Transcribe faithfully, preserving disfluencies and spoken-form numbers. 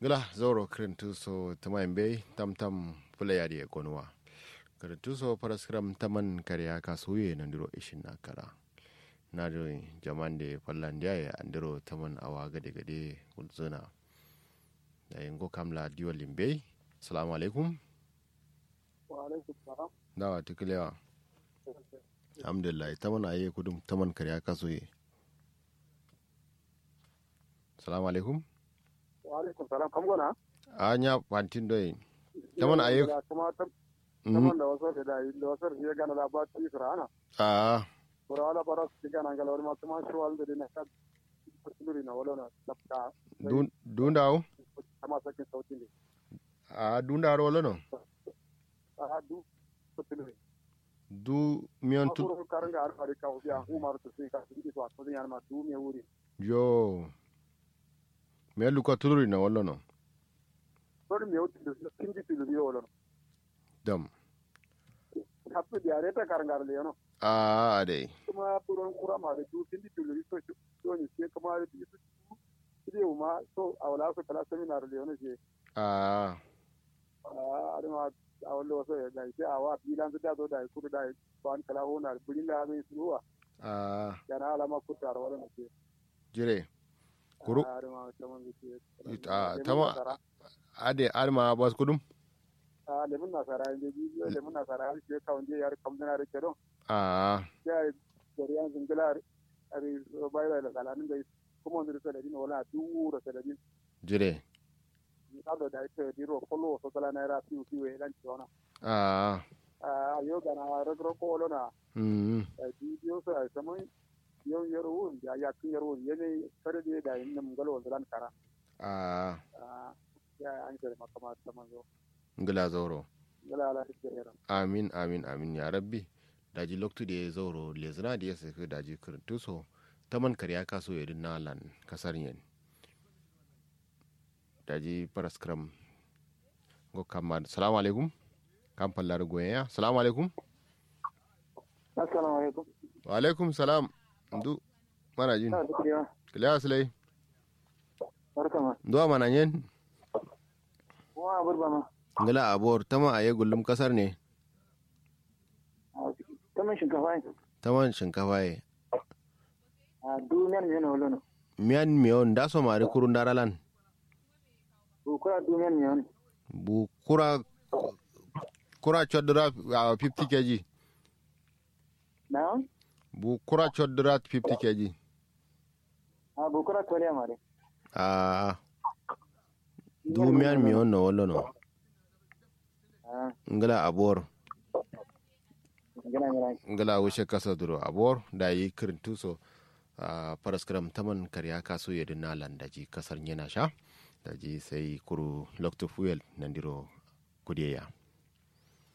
Ngla zauro kǝrǝntu so tǝmayin bai tamtam fǝlai adǝ ye gonuwa. Kǝrǝntu so faraskǝram taman kare ya kasuye nandiro ishin na kara. Nadǝ jaman de fallandiya ye andiro taman awa gade gade gulzǝna. Dayi ngo kamla diwalin bai. Assalamu alaikum. Wa alaikum salam. Dawa tuklewa. Alhamdulillah taman aye kudum taman kare ya kasuye. Salamu alaikum. Wa alaikum salam kam gona. A nya fantin doi. Taman aye. Kuma taman da wasu da dai da wasu ya gana da ba ti sirana. A. Bura wala bara su gana ngala wani ma kuma shi wal da dina ka. Luri na wala na. Dun dun dawo. Kama sakin sautin ne. A dun dawo wala no. A du sautin ne. Du miyan tu. Kuru karanga har fari ka ubiya umar tu sin ka sin ki to a to yan ma du me wuri. Yo. Me luka tuluri na wala no. Sori me wuti du sin ki tuluri wala no. Dam. Hapu diare ta karanga le no. A dai. Kuma puron kura ma du sin ki tuluri so so ni se kuma du. Kidi uma so awla so kala seminar le no se. A. A adama. Awla so ya dai se awa bilan da so dai kuru dai ban kala hona bulin da zai suwa. A. Yana alama kutar wala no se. Jire. Kuru. Tama. Ade adma bas kudum. A lemun nasara inde ji lemun nasara har ke kawun je yar kamdana da kedo. A. Ya gari an zingila. Ari bai bai la kala nin gai. Kuma ndir saladin wala duro saladin. Jire. Ni kado da ita diro kolo so kala naira fiu fiu e lan ciwana. A. A yo gana ragro kolo na. Mm. Bidiyo so ai saman. Yau yar wun ya yakin yar wun yene kare de da yin nam galo lan kara. A. A. Ya an kare makama saman zo. Ngla zauro. Ngla ala. Amin amin amin ya rabbi. Daji loktu de zauro lezina de saka daji kǝrǝntuso. Taman kare ya kaso yadin na lan kasar yen. Daji paraskram. Ngo kamma salamu alaikum. Kam fallar goyen ya salamu alaikum. Assalamu alaikum. Wa alaikum salam. Ndu mana jin. Kiliya silai. Barkama. Ndu a mana nyen. Kuma abur bama. Ngla abor tama aye gullum kasar ne. Taman shinkafa ye. Taman shinkafa ye. A du miyan miyan wala no. Miyan miyan da so mari kurun daralan. Bu kura du miyan miyan. Bu kura kura chodura a fifty kg. Na. Bu kura chodura fifty kg. A bu kura koriya mari. A. Du miyan miyan no wala no. Ngla abor. Ngla wushe kasa duro abor dayi kǝrǝntuso. Faraskram taman kare ya kaso yadin na lan daji kasar nyena sha. Daji sai kuru loktu fuel nandiro kudeya.